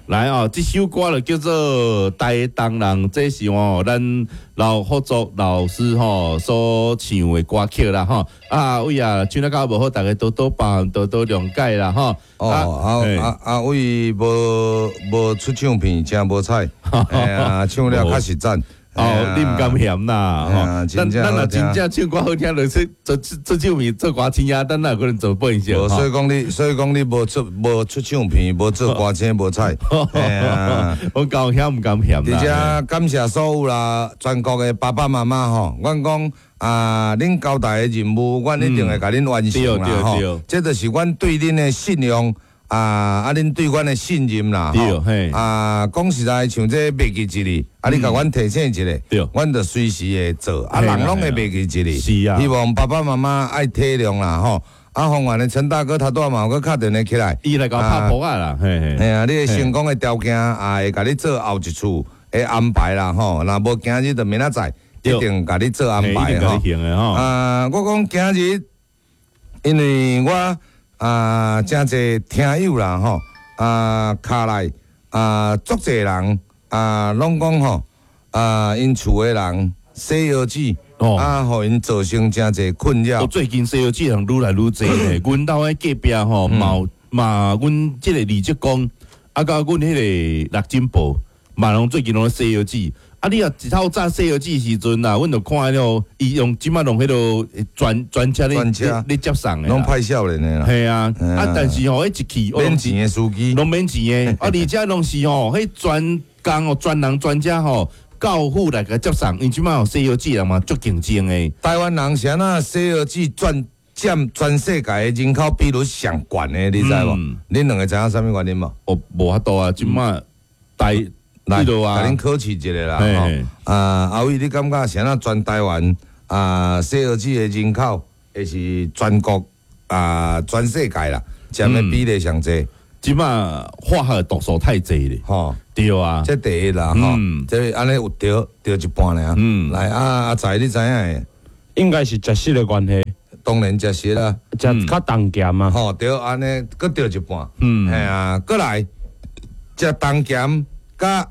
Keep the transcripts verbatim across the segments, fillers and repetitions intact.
來哦，這首歌就叫做《台東人》，這是哦咱劉福作老師吼所唱的歌曲啦吼。啊，偉啊，唱得較無好，大家多多包涵，多多諒解啦吼。哦，啊啊阿偉無無出唱片，真無彩，哎呀，唱了較實讚。哦，你毋甘嫌啦，吼！咱咱若真正唱歌好聽，就是做做唱片、做歌星啊，咱哪有可能做播音社？所以講你，所以講你無出無出唱片，無做歌星，無彩。我夠嫌毋甘嫌啦。而且感謝所有啦，全國的爸爸媽媽吼，阮講啊，恁交代的任務，阮一定會共恁完成啦吼。這就是阮對恁的信用。啊！啊，恁對阮的信任啦，吼啊，講實在，像這袂記一日，啊，你共阮提醒一下，阮就隨時會做。啊，人攏會袂記一日，是啊。希望爸爸媽媽愛體諒啦，吼。啊，方圓的陳大哥他拄仔嘛有閣敲電話起來，伊來共拍噗仔啦，嘿嘿。嘿啊，你的成功的條件啊，會共你做後一次的安排啦，吼。若無今日就明仔載，一定共你做安排吼。啊，我講今日，因為我。啊，誠濟聽友啦吼，啊，敲來啊，足濟人啊，攏講吼，啊，𪜶厝的人洗腰子，啊，予𪜶造成誠濟困擾。最近洗腰子人愈來愈濟咧，阮兜的隔壁吼，嘛嘛，阮這個李職工，啊，佮阮彼個六珍寶，嘛攏最近攏洗腰子。啊！你若一透早洗腰子時陣啊，阮就看彼伊用這擺用彼個專專車咧咧接送的，攏派少年的啦。係啊，啊，但是吼，彼一去免錢的司機，攏免錢的，啊，而且攏是吼，彼專工哦，專人專車吼，到府來共接送，因這擺吼洗腰子人嘛足競爭的。台灣人是按怎洗腰子佔佔全世界的人口比率上懸的，你知無？恁兩个知影啥物原因無？哦，無法度啊，這擺台。來，共恁考試一下啦。吼，啊，阿偉，你感覺是按怎全台灣啊，洗腰子的人口會是全國啊，全世界啦，佔的比例上濟？這擺化學毒素太濟咧，吼，對啊，這第一啦，吼，這按呢有對對一半爾。嗯，來，啊，阿財，你知影的？應該是食食的關係。當然食食啦，食較重鹹啊。吼，對，按呢，閣對一半。嗯，嘿啊，閣來食重鹹，佮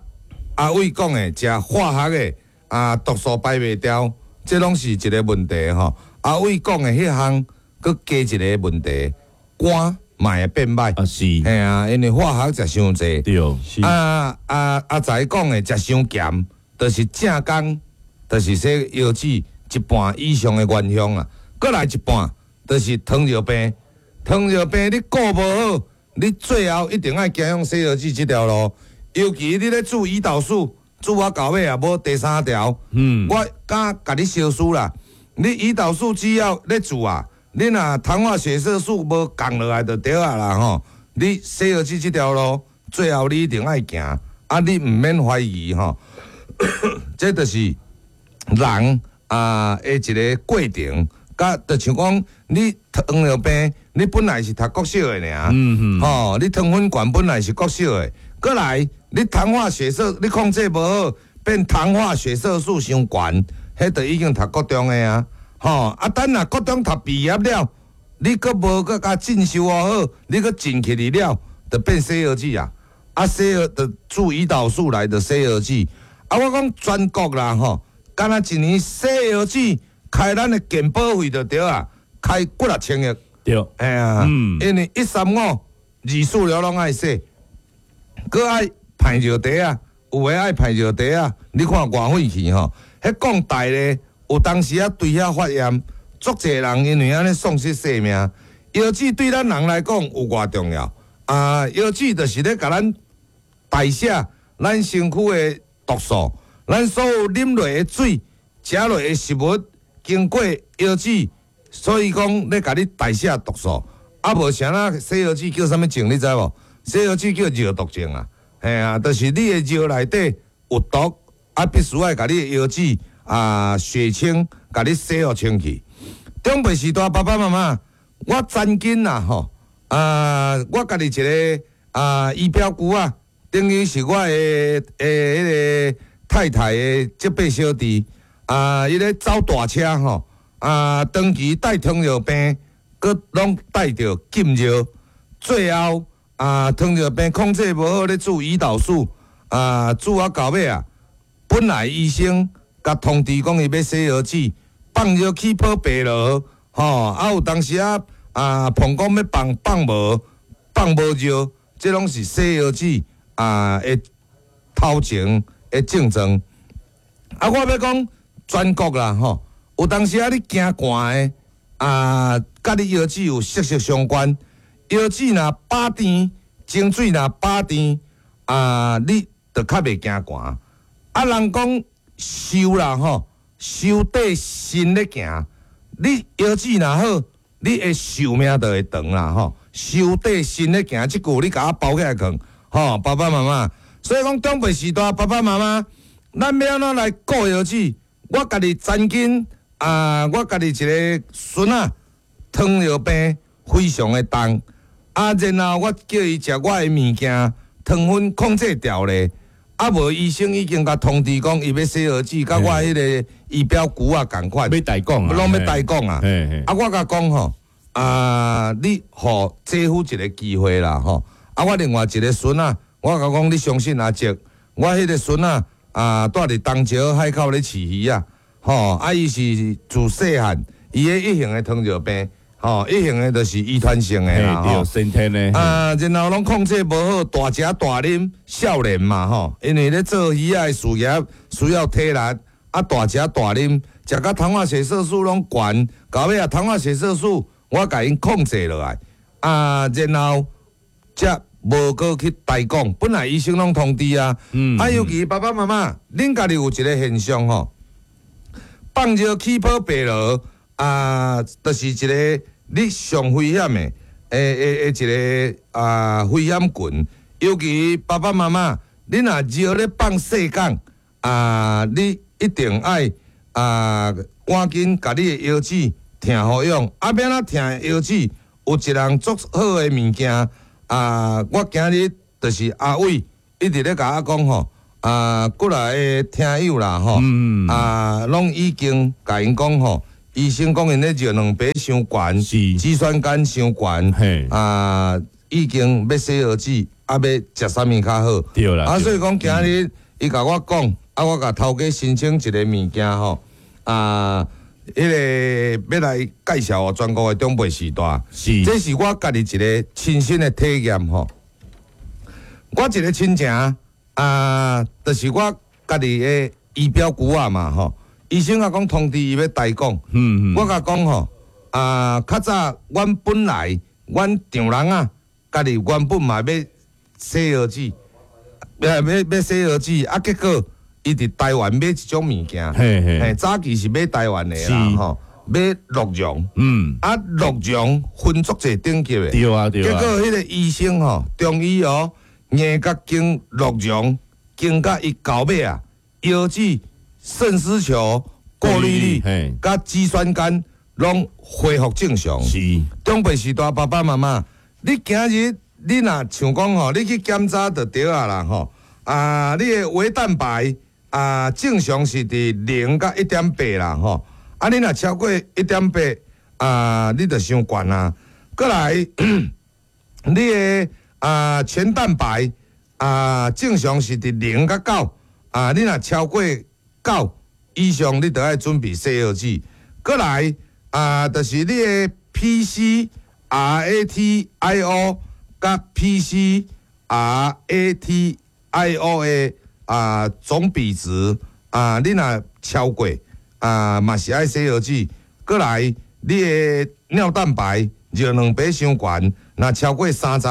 阿偉講的，食化學的啊，毒素排袂掉，這攏是一個問題吼。阿偉講的彼項，閣加一個問題，肝嘛會變歹。啊是，嘿啊，因為化學食傷濟。對，啊啊阿財講的食傷鹹，就是正工，就是洗腰子一半以上的元兇啊。閣來一半，就是糖尿病。糖尿病你顧無好，你最後一定愛走向洗腰子這條路。尤其你咧注胰島素，注啊到尾也無第三條。嗯，我敢共你相輸啦。你胰島素只要咧注啊，你若糖化血色素無降落來就對啊啦吼。你洗腰子這條路，最後你一定愛行，啊，你毋免懷疑吼。這就是人啊的一個過程，佮就像講你糖尿病，你本來是讀國小的爾，嗯吼，你糖分懸本來是國小的，閣來你糖化血色，你控制無好，變糖化血色素傷懸，彼就已經讀國中的啊，吼啊，等若國中讀畢業了，你閣無閣共進修好，你閣進去了，就變洗腰子啊，啊洗腰就注胰島素來就洗腰子，啊我講全國啦吼，敢若一年洗腰子開咱的健保費就對啊，開幾若千億，對，嘿啊，因為一三五二四六攏愛洗，閣愛排尿袋啊，有的愛排尿袋啊，你看偌費氣吼，彼講大咧，有當時啊對遐發炎，足濟人因為按呢喪失性命。腰子對咱人來講有偌重要啊？腰子就是咧共咱代謝咱身軀的毒素，咱所有啉落的水、食落的食物，經過腰子，所以講咧共你代謝毒素。啊，無啥啦，洗腰子叫啥物症？你知無？洗腰子叫尿毒症啊！嘿啊，就是你的尿內底有毒，啊，必須愛共你的腰子啊血清，共你洗予清氣。長輩時代爸爸媽媽，我曾經啊吼啊，我家己一個啊姨表姑啊，等於是我的的彼個太太的這輩小弟啊，伊咧走大車吼啊，長期帶糖尿病，閣攏帶著禁尿，最後啊，糖尿病控制無好咧注胰島素，啊，注啊到尾啊，本來醫生共通知講伊欲洗腰子，放尿起泡白囉，吼，啊有當時啊啊膀胱欲放放無，放無尿，這攏是洗腰子啊的頭前的症狀。啊，我欲講全國啦，吼，有當時啊你驚寒的啊，佮你腰子有息息相關。腰子若飽甜，精水若飽甜啊，你就較袂驚寒。啊，人講壽啦吼，壽綴身咧行，你腰子若好，你的壽命就會長啦吼。壽綴身咧行，這句你共我包起來囥，吼，爸爸媽媽。所以講長輩時代，爸爸媽媽，咱欲按怎來顧腰子？我家己曾經啊，我家己一个孫仔糖尿病非常的重，啊，然後我叫伊食我的物件，糖分控制牢咧，啊，無醫生已經共通知講，伊欲洗腰子，佮我彼个儀表龜仔仝款，欲代講啊，攏欲代講啊。啊，我共講吼，啊，你予姐夫一个機會啦吼。啊，我另外一个孫仔，我共講，你相信阿叔，我彼个孫仔啊，蹛佇東石海口咧飼魚仔，吼，啊，伊是自細漢，伊的一型的糖尿病，吼，一型的就是遺傳性的啦，吼，先天的。啊，然後攏控制無好，大食大啉，少年嘛，吼，因為咧做魚仔的事業需要體力，啊，大食大啉，食甲糖化血色素攏懸，到尾啊，糖化血色素我共𪜶控制落來，啊，然後才無閣去代講，本來醫生攏通知啊，啊，尤其爸爸媽媽，恁家己有一个現象吼，放尿起泡白囉啊，就是一个你上危險的，的的的一个啊危險群。尤其爸爸媽媽，你若尿咧放細工啊，你一定愛啊趕緊共你的腰子疼予養。啊，欲按怎疼腰子？有一項足好的物件啊，我今日就是阿偉一直咧共我講吼，啊，過來的聽友啦吼，啊，攏已經共𪜶講吼，醫生講𪜶咧尿蛋白傷懸，肌酸酐傷懸，啊，已經欲洗腰子，啊，欲食啥物較好？對啦。啊，所以講今日伊共我講，啊，我共頭家申請一个物件吼，啊，彼个欲來介紹予全國的長輩序大，是，這是我家己一个親身的體驗吼。我一个親情啊，就是我家己的姨表姑仔嘛吼。醫生啊講通知伊欲代講，嗯嗯，我共講吼，啊，較早阮本來阮丈人啊，家己原本嘛欲洗腰子，欲欲欲洗腰子，啊，結果伊佇台灣買一種物件，嘿，早期是買台灣的啦，吼，買鹿茸，嗯，啊，鹿茸分足濟等級的，對啊對啊，結果彼个醫生吼，中醫哦，硬共經鹿茸，經甲伊到尾啊，腰子、腎絲球、過濾率、佮肌酸酐攏恢復正常。是，長輩序大爸爸媽媽，你今日你若像講吼，你去檢查就對啊啦吼，啊，你的微蛋白啊正常是佇零佮一點八啦吼，啊，你若超過一點八啊，你就傷懸啊。閣來，你的啊全蛋白啊正常是佇零佮九啊，你若超過九以上，你就愛準備洗腰子。閣來啊，就是你的 P C R A T I O 佮 P C R A T I O 的啊總比值啊，你若超過啊，嘛是愛洗腰子。閣來，你的尿蛋白尿蛋白傷懸，若超過三十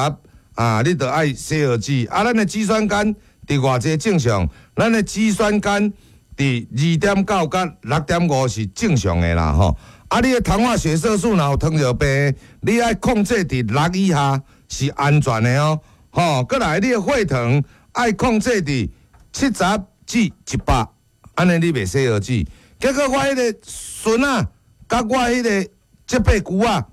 啊，你就愛洗腰子。啊，咱的肌酸酐佇偌濟正常？咱的肌酸酐佇二點九佮六點五是正常的啦吼。啊，你的糖化血色素若有糖尿病，你愛控制佇六以下是安全的哦。吼，閣來你的血糖愛控制佇七十至一百，按呢你袂洗腰子。結果我彼个孫仔，佮我彼个這輩姑仔，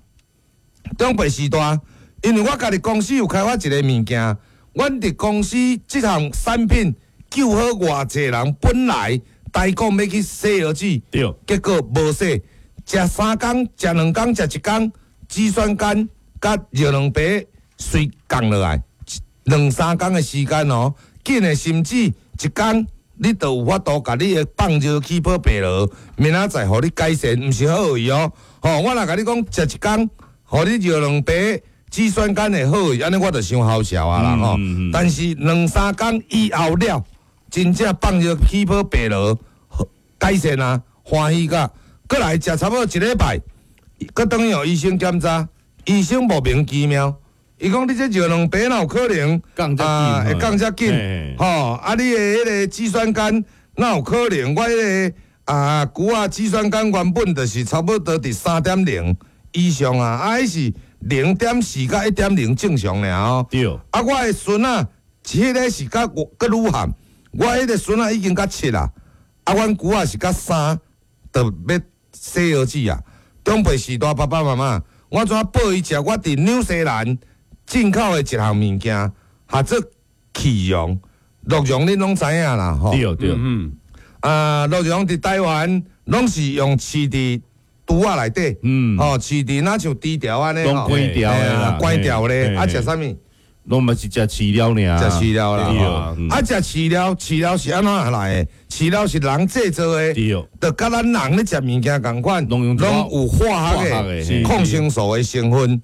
長輩序大，因為我家己公司有開發一个物件，阮佇公司這項產品救好偌濟人，本來代講欲去洗腰子，對，結果無洗，食三工、食兩工、食一工，肌酸酐佮尿蛋白隨降落來，兩三工的時間哦，緊的甚至一工，你就有法度共你的放尿氣泡疲勞，明仔載予你改善，毋是好去哦。吼，我若共你講食一工，予你尿兩白，脂酸酐會好去，按呢我就傷好笑啊啦吼。嗯嗯但是兩三工以後了，真正放尿氣泡疲勞改善啊，歡喜甲，閣來食差不多一禮拜，閣轉去予醫生檢查，醫生莫名其妙，伊講你這尿卵白哪有可能降遮緊啊會降遮緊嘿，吼啊你的彼個脂酸酐哪有可能？我彼個啊，牛仔脂酸酐原本就是差不多佇三點零以上啊，啊彼是零點四佮一點零正常爾哦。對，啊，我的孫仔，彼个是較閣愈譀，我彼个孫仔已經較七啦，啊，阮牛仔是較三，就欲洗腰子啊。長輩序大爸爸媽媽，我怎報伊食？我佇紐西蘭進口的一項物件，合做鹿茸，鹿茸恁攏知影啦吼。對對，嗯，啊，鹿茸佇台灣攏是用飼佇櫥仔內底，嗯吼飼佇若像豬條按呢，攏關掉的啦關掉咧，啊嘿食啥物？攏嘛是食飼料爾，食飼料啦，對吼嗯啊食飼料，飼料是按怎來的？飼料是人製造的，對，就佮咱人咧食物件仝款，攏用攏有化學化學的的抗生素的成分。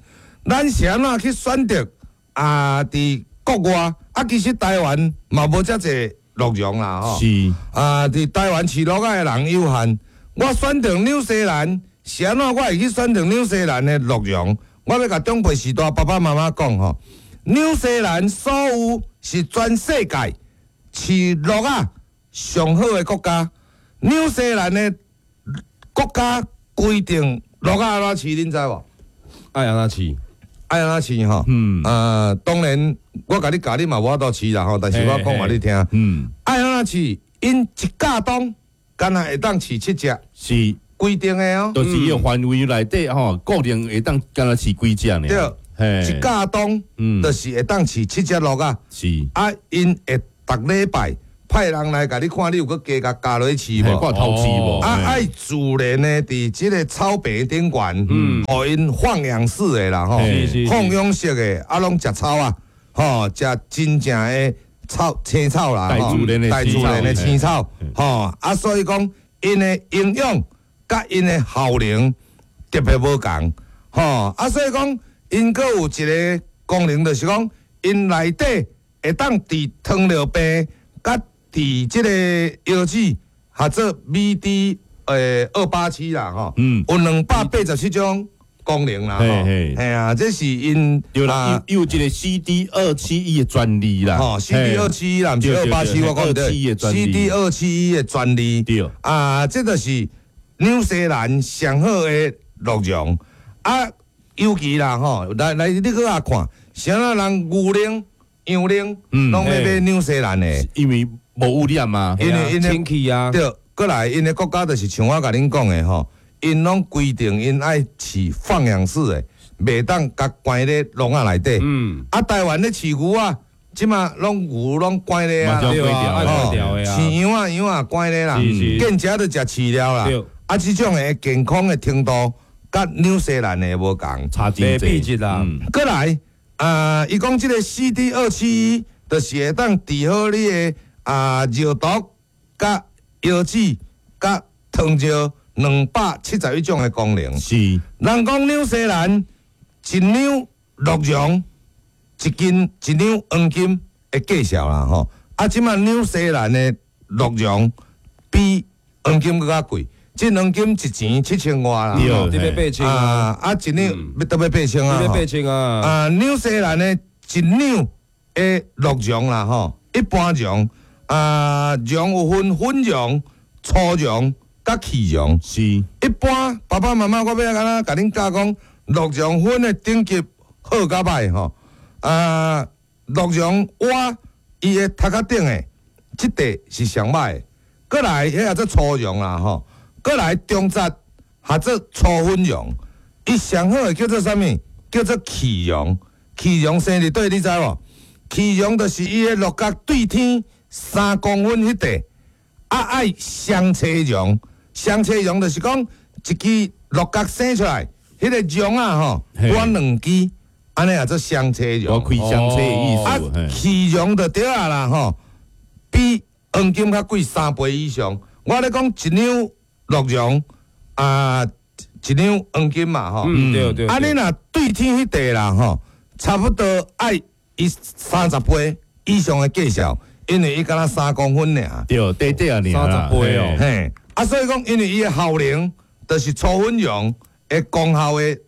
咱是按怎去選擇啊？佇國外啊，其實台灣嘛無遮濟鹿茸啦，吼。是，啊，佇台灣飼鹿仔的人有限，我選擇紐西蘭是按怎？我會去選擇紐西蘭的鹿茸。我欲共長輩序大爸爸媽媽講吼，紐西蘭所有是全世界飼鹿仔上好的國家。紐西蘭的國家規定鹿仔按怎飼，恁知無？愛按怎飼？愛按怎飼吼？嗯啊，當然我共你教你嘛無法度飼啦吼，但是我講予你聽。嗯，愛按怎飼？𪜶一甲當敢若會當飼七隻，是，規定的哦。就是伊个範圍內底吼，固定會當敢若飼幾隻爾，對，嘿一甲當嗯就是會當飼七隻鹿仔。是，啊，𪜶會逐禮拜派人來共你看，你有閣加共加落去飼無？嘿看偷飼無？啊，嘿愛自然的佇這个草坪頂懸，予𪜶放養式的啦吼嘿是是，放養式的，啊，攏食草啊，吼，食真正的草青草啦，大自然的大自然的青草，吼，啊，所以講𪜶的營養佮𪜶的效能特別無仝，吼，啊，所以講𪜶閣有一個功能，就是講𪜶內底會當治糖尿病，佮治這个腰子，合做 B D 呃二八七啦，吼，嗯有兩百八十七種功能啦，吼，嘿嘿嘿啊，這是𪜶對啦，有有一个 C D 二七一的專利啦，吼，C D 二七一啦，毋是二八七，我講二七一對的專利，C D 二七一的專利，對啊，這就是紐西蘭上好的鹿茸啊，尤其啦吼，來來，你閣來看，啥仔人牛奶、羊奶，嗯攏欲買紐西蘭的，因為無污染嘛，因為𪜶的清氣啊，對，閣來𪜶的國家就是像我共恁講的吼，𪜶攏規定𪜶愛飼放養式的，袂當共關咧籠仔內底。嗯，啊，台灣咧飼牛仔，這馬攏牛攏關咧啊嘛，對啊，愛關掉的啊，飼羊仔羊仔關咧啦，是是見食就食飼料啦對。啊，這種的健康的程度，佮紐西蘭的無仝。差真袂濟變質啦嗯閣來，啊，伊講這个 C D 二七一，就是會當治好你的啊尿毒、佮腰子、佮糖尿兩百七十一種的功能。是，人講紐西蘭一兩鹿茸一斤一兩黃金的價數啦吼，啊，這馬紐西蘭的鹿茸比黃金閣較貴，這黃金一錢七千外啦。對吼你欲八千啊，啊啊，一兩欲都欲八千啊。你欲吼八千啊，啊，紐西蘭的一兩的鹿茸啦吼，一般茸啊，茸有分粉茸、粗茸佮氣茸。是，一般爸爸媽媽，我欲按怎共恁教講，鹿茸粉的等級好佮歹吼。啊，鹿茸偎伊的頭殼頂的這塊是上歹的，閣來彼叫做粗茸啦吼，閣來中節合做粗粉茸，伊上好的叫做啥物？叫做氣茸。氣茸生佇佗，你知無？氣茸就是伊的鹿角對天三公分彼塊。啊，愛雙切茸，雙切茸就是講一支鹿角生出來，彼個茸啊吼，嘿分兩支，按呢也做雙車我茸。開雙車的意啊思，嘿，飼茸就對啊啦吼，比黃金較貴三倍以上。我咧講一兩鹿茸啊，一兩黃金嘛吼。嗯，對對。啊，你若對天彼塊啦吼，差不多愛伊三十倍以上的價數，因為伊敢若三公分爾。對，短短爾啦，三十倍哦嘿。嘿，啊，所以講，因為伊的效能，就是粗粉茸的功效的幾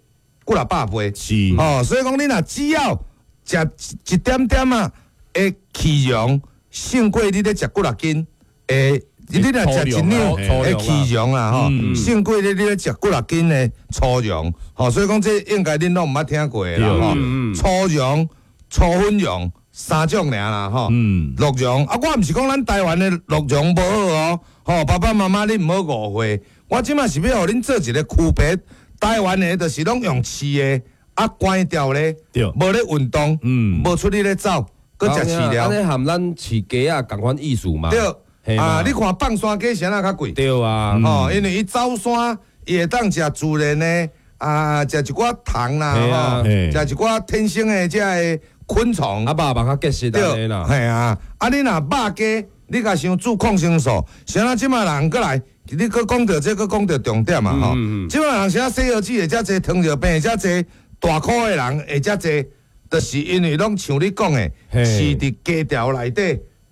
若百倍。是，哦，所以講你若只要食一點點仔的飼茸，勝過你咧食幾若斤的。你若食一兩的飼茸啦吼，勝過你你咧食幾若斤的粗茸，吼，所以講這應該恁攏毋捌聽過的啦吼。粗茸、粗粉茸三種爾啦吼。嗯，鹿茸啊，我毋是講咱台灣的鹿茸無好哦，吼，爸爸媽媽你毋好誤會，我這馬是欲予恁做一個區別，台灣的就是攏用飼的，啊，關掉咧，無咧運動，嗯，無出去咧走，閣食飼料。按呢和咱飼雞仔仝款意思嘛？對，啊，你看放山雞啥若較貴？對啊，吼，因為伊走山，伊會當食自然的，啊，食一寡蟲啦，吼，食一寡天生的這个昆蟲。啊，肉嘛較結實對啦。嘿啊，啊，你若肉雞，你共想注抗生素，啥若這馬人閣來，你閣講著這閣講著重點嘛吼。這馬人啥洗腰子會遮濟，糖尿病會遮濟，大箍的人會遮濟，就是因為攏像你講的，飼佇雞牢內底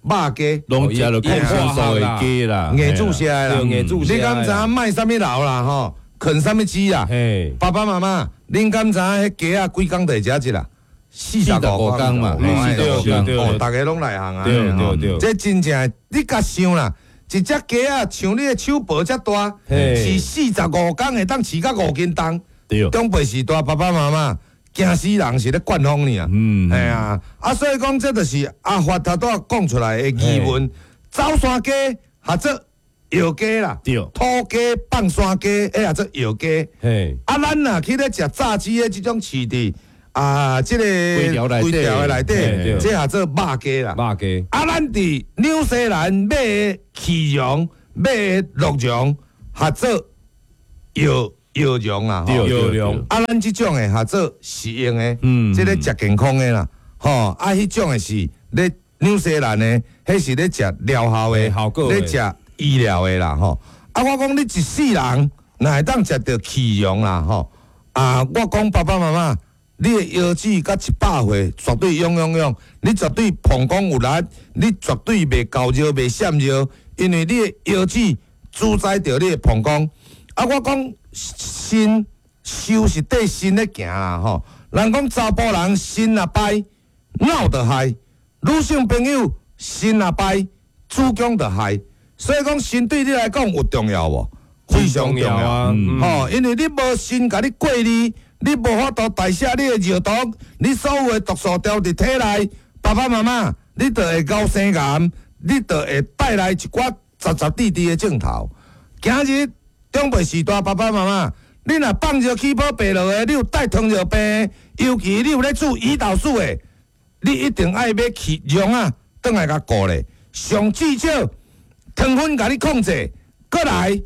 肉雞，攏食著抗生素的雞啦，硬注射的啦，你敢知影賣啥物流啦吼？啃啥物雞啦？爸爸媽媽，恁敢知影彼雞仔幾工就會食一啦？四十五工嘛，對對對，哦，逐家攏內行啊，對對對，這真正你共想啦，一隻雞仔像你的手薄遮大，飼四十五工會當飼到五斤重，長輩時代爸爸媽媽驚死人是咧灌風爾，嗯，嘿啊，啊所以講這就是阿發頭拄仔講出來的疑問，走山雞合做藥雞啦，土雞放山雞，彼合做藥雞，啊咱若去咧食炸雞的這種飼佇啊，這個規條內的內底，這合做肉雞啦。肉雞。啊，咱佇紐西蘭買的飼茸、買的鹿茸，合做藥藥茸啦。藥茸。啊，咱這種的合做食用的，嗯，這个食健康的啦。吼，啊，彼種的是咧紐西蘭的，彼是咧食療效的，咧食醫療的啦。吼，啊，我講你一世人若會當食著飼茸啦，吼，啊，我講爸爸媽媽。你的腰子佮一百歲，絕對勇勇勇，你絕對膀胱有力，你絕對袂厚尿、袂閃尿，因為你的腰子主宰著你的膀胱。啊，我講腎壽是綴腎咧行啦吼。人講查埔人腎若歹，腦就害；女性朋友腎若歹，子宮就害。所以講腎對你來講有重要無？非常重要啊！吼，因為你無腎共你過濾。你無法度代謝你的尿毒，你所有的毒素牢佇體內，爸爸媽媽，你就會熬生癌，你就會帶來一寡雜雜滴滴的症頭。今日長輩時代，爸爸媽媽，你若放尿起泡白落的，你有帶糖尿病，尤其你有咧注胰島素的，你一定愛買飼茸仔，轉來共顧咧。上至少糖分共你控制，閣來，予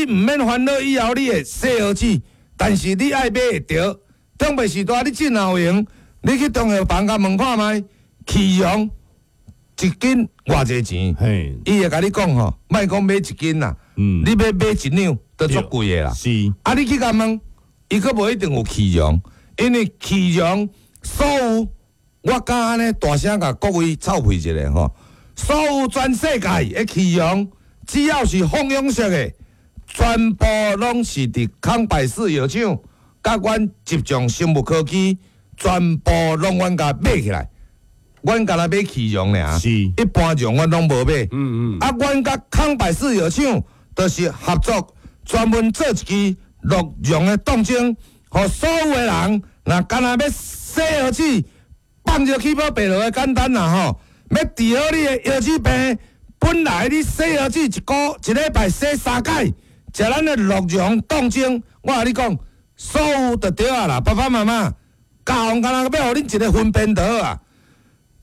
你毋免煩惱以後你會洗腰子。但是你愛買會著，長輩時代你真有閒，你去中藥房共問看覓，飼茸一斤偌濟錢？伊會共你講吼，莫講買一斤啦，嗯，你欲買一兩都足貴的啦。是，啊，你去共問，伊閣無一定有飼茸，因為飼茸所有，我敢按呢大聲共各位臭屁一下吼，所有全世界的飼茸，只要是放養式的。全部攏是佇康百氏藥廠，佮阮集眾生物科技，全部攏阮共買起來。阮干焦買飼茸爾，是一般茸阮攏無買。嗯嗯。啊，阮佮康百氏藥廠就是合作，專門做一支鹿茸的凍精，予所有的人，若干焦欲洗腰子，放尿起泡白落的簡單啦吼，欲治好你的腰子病，本來你洗腰子一個一禮拜洗三擺。食咱的鹿茸凍精，我共你講，所有就對啊啦，爸爸媽媽，教予干焦欲予恁一个分辨就好啊。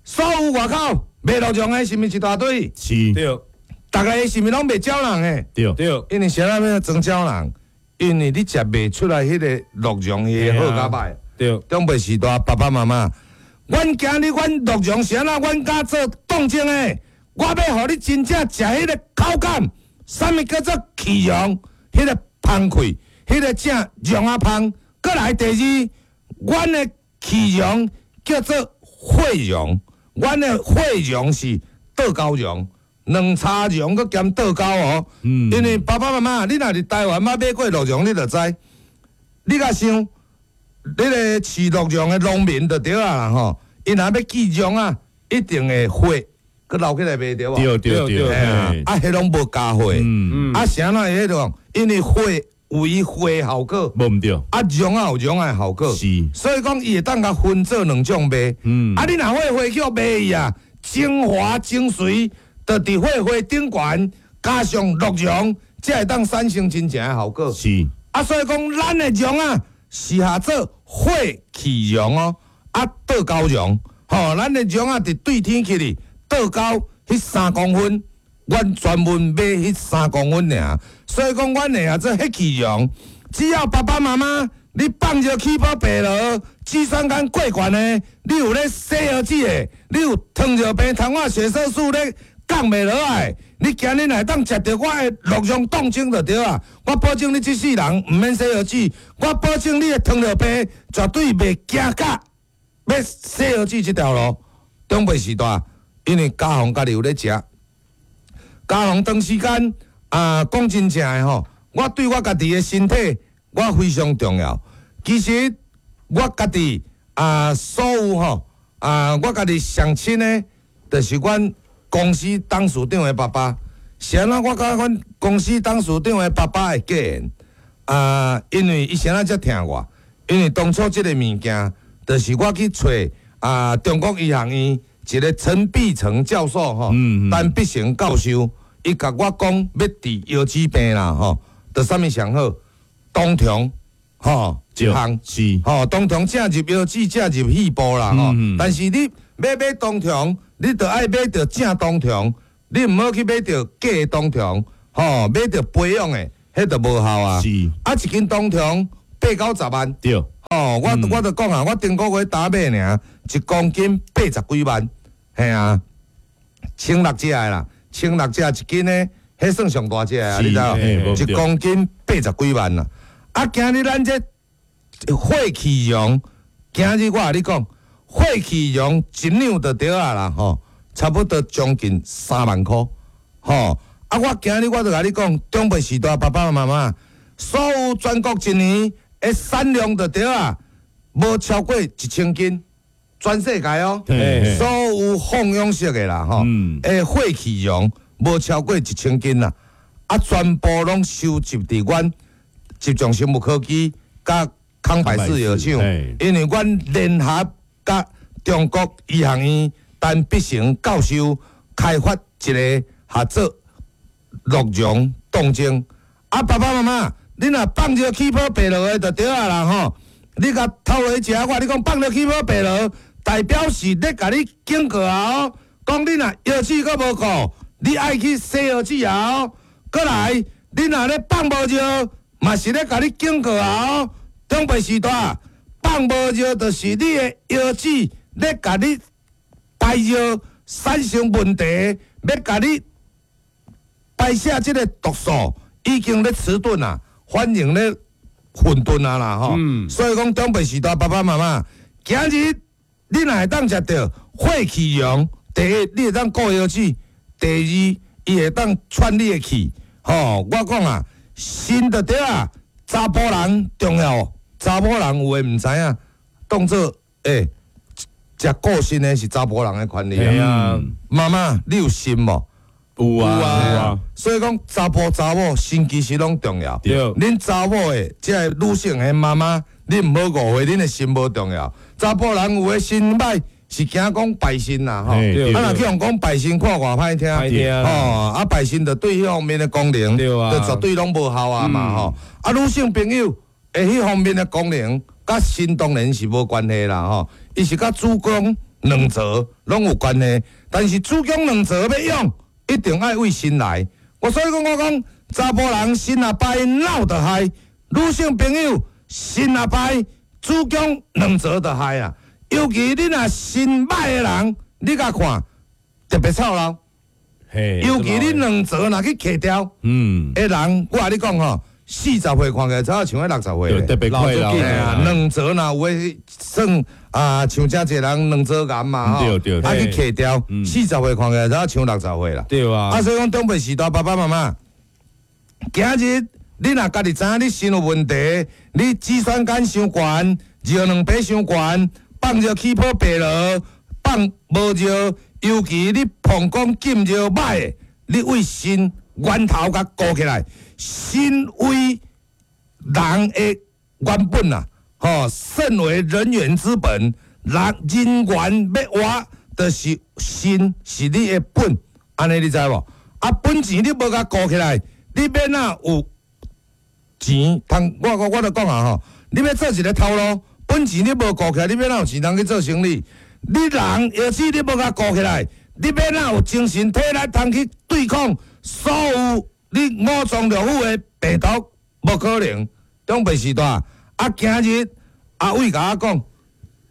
所有外口賣鹿茸的，是毋是一大堆？是。對。逐个是毋是攏賣鳥人的？對。對。因為啥物欲裝鳥人？因為你食袂出來彼个鹿茸伊的好佮歹。對。長輩時代爸爸媽媽，阮今日阮鹿茸是按怎？阮敢做凍精的，我欲予你真正食彼个口感，啥物叫做氣茸？彼个芳氣，彼个正茸仔芳。閣來第二，阮的氣茸叫做血茸，阮的血茸是倒膠茸。兩叉茸閣兼倒膠哦，嗯因為爸爸媽媽，你若佇台灣捌買過鹿茸，你就知。你共想，你個飼鹿茸的農民就對啊啦吼，𪜶若欲寄茸啊，一定會血閣留起來賣對無？對對對，對嘿啊，啊，彼攏無加血，嗯，啊，啥怎會彼種？因為血有伊血效果，無毋對，啊，茸仔有茸仔的效果，是，所以講伊會當共分做兩種賣。嗯啊，你若血血去賣伊啊，精華精髓，就佇血血頂懸，加上鹿茸，才會當產生真正的效果。是，啊，所以講咱的茸啊，是下做血氣茸哦，啊倒膠茸，吼，咱的茸啊佇對天起哩倒膠彼三公分，阮專門買彼三公分爾，所以講阮會下做血氣茸，只要爸爸媽媽你放尿氣泡白羅，脂酸酐過懸的，你有咧洗腰子的，你有糖尿病、糖化血色素咧降袂落來，你今日若會當食著我的鹿茸凍精就對啊！我保證你這世人毋免洗腰子，我保證你的糖尿病絕對袂行到欲洗腰子這條路。長輩時代，因為家雄家己有咧食，家雄長時間啊，講真正的吼，我對我家己的身體，我非常重要。其實我家己啊，所有吼啊，我家己上親的，就是阮公司董事長的爸爸。是按怎我佮阮公司董事長的爸爸會結緣啊，因為伊啥怎遮疼我？因為當初這个物件，就是我去揣啊中國醫學院一个陳必成教授吼，嗯嗯陳必成教授，伊共我講欲治腰子病啦吼，就啥物上好？冬蟲吼一項。是，吼，冬蟲正入腰子，正入肺部啦吼。嗯但是你欲買冬蟲，你著愛買著正冬蟲，你毋好去買著假的冬蟲，吼，買著培養的，彼就無效啊。是，啊，一斤冬蟲八九十萬，對，吼，我我就講啊，我頂個月打買爾，一公斤八十幾萬，嘿啊，千六隻的啦，千六隻一斤呢，彼算上大隻啊，是你知無？嘿無一公斤八十幾萬啦。啊，今日咱這血氣茸，今日我共你講，血氣茸一兩就對啊啦，吼，差不多將近三萬箍，吼。啊，我今日我就共你講，長輩時代爸爸媽媽，所有全國一年的產量就對啊，無超過一千斤，全世界哦。嘿所有放養式的啦，吼，嗯的血氣茸無超過一千斤啦，啊，全部攏收集佇阮集中生物科技佮康百氏藥廠，因為阮聯合佮中國醫學院陳必成教授開發一个合做鹿茸凍精。啊，爸爸媽媽，你若放尿氣泡白落的就對啊啦吼，你共透落去食，我共你講放尿氣泡白落，代表是咧共你警告啊哦，講你若腰子閣無顧，你愛去洗腰子啊哦。閣來，你若咧放無尿，嘛是咧共你警告啊哦。長輩時代放無尿，就是你的腰子咧共你排尿產生問題，欲共你排泄這个毒素已經咧遲鈍啊，反應咧混沌啊啦吼。嗯所以講長輩時代爸爸媽媽，今日你若會當食著血氣茸，第一你會當顧腰子，第二伊會當喘你的氣。吼，我講啊，腎就對啊，查埔人重要，查某人有的毋知影，當做欸，食顧腎的是查埔人的權利嘿啊。啊，媽媽，你有腎無？有啊，有啊所以講查埔查某腎其實攏重要。對恁查某的這个女性的媽媽，你毋好誤會，恁的腎無重要。查埔人有的腎歹，是驚講敗腎啦吼。嘿對啊，若去予人講敗腎，看偌歹聽。歹聽吼，啊敗腎就對彼方面的功能，對啊就絕對攏無效啊嘛吼。啊，女性朋友的彼方面的功能，佮腎當然是無關係啦吼，伊是佮子宮卵巢攏有關係，但是子宮卵巢欲用，一定愛為腎來。我所以講，我講查埔人腎若歹，腦就害；女性朋友腎若歹，子宮兩槽就害啊。尤其你若腎䆀的人，你共看特別臭老。嘿，尤其你卵巢若去切掉嗯，的人，我共你講吼，四十歲看起來才像彼六十歲對，特別快老，嘿啊，卵巢若有的算啊，像遮濟人卵巢癌嘛吼，對對啊去切掉，四十歲看起來才像六十歲啦。對啊啊，所以講長輩時代爸爸媽媽，今日你若家己知影你腎有問題，你肌酸酐傷懸，尿蛋白傷懸，放尿起泡白羅，放無尿，尤其你膀胱禁尿䆀的，你為腎源頭共顧起來，腎為人的原本啊，吼，腎為人員之本，人人員欲活，就是腎是你的本，按呢你知無？啊，本錢你無共顧起來，你欲哪有錢通？我我我就講啊吼，你欲做一个頭路，本錢你無顧起來，你欲哪有錢通去做生意？你人藥子你無共顧起來，你欲哪有精神體力通去對抗所有你五臟六腑的病毒？無可能。長輩時代啊，今日阿偉共我講，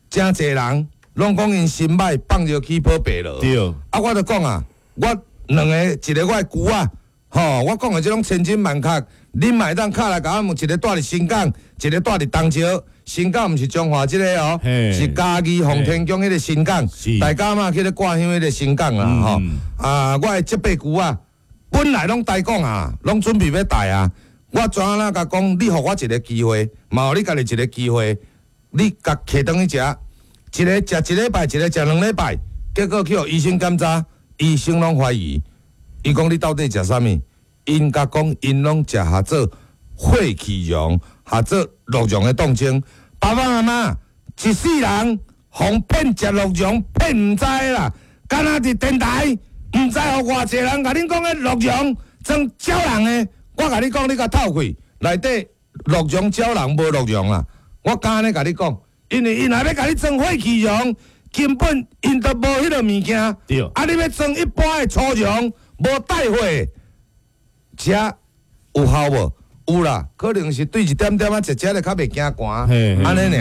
誠濟人攏講𪜶腎䆀放尿起泡白羅。對啊，我就講啊，我兩个，一个我的姑仔，吼，我講的這種千真萬確，恁嘛會當敲來共我問，一个住佇新港，一个住佇東石。新港毋是彰化這个哦，嘿是嘉義奉天宮彼个新港是，大家嘛去咧掛香彼个新港啦，吼，嗯啊，我的這輩姑仔本來攏台講啊，攏準備欲帶啊。我怎啊共講？你予我一个機會，嘛予你家己一个機會，你共提轉去食，一個食一禮拜，一個食兩禮拜，結果去予醫生檢查，醫生攏懷疑，伊講你到底食啥物？𪜶共講，𪜶攏食合做血氣溶，合做鹿茸的凍精。爸爸媽媽一世人予騙食鹿茸，騙毋知啦，敢若佇電台，毋知予偌濟人共恁講彼鹿茸裝鳥人的。我共你講，你共透氣，內底鹿茸鳥人無鹿茸啦。我敢按呢共你講，因為𪜶若欲共你裝血氣溶，根本𪜶都無彼个物件。對啊，你欲裝一般的粗茸，無帶血的，食有效無？有啦，可能是對一點點仔食食咧較袂驚寒，嘿嘿按呢爾啦。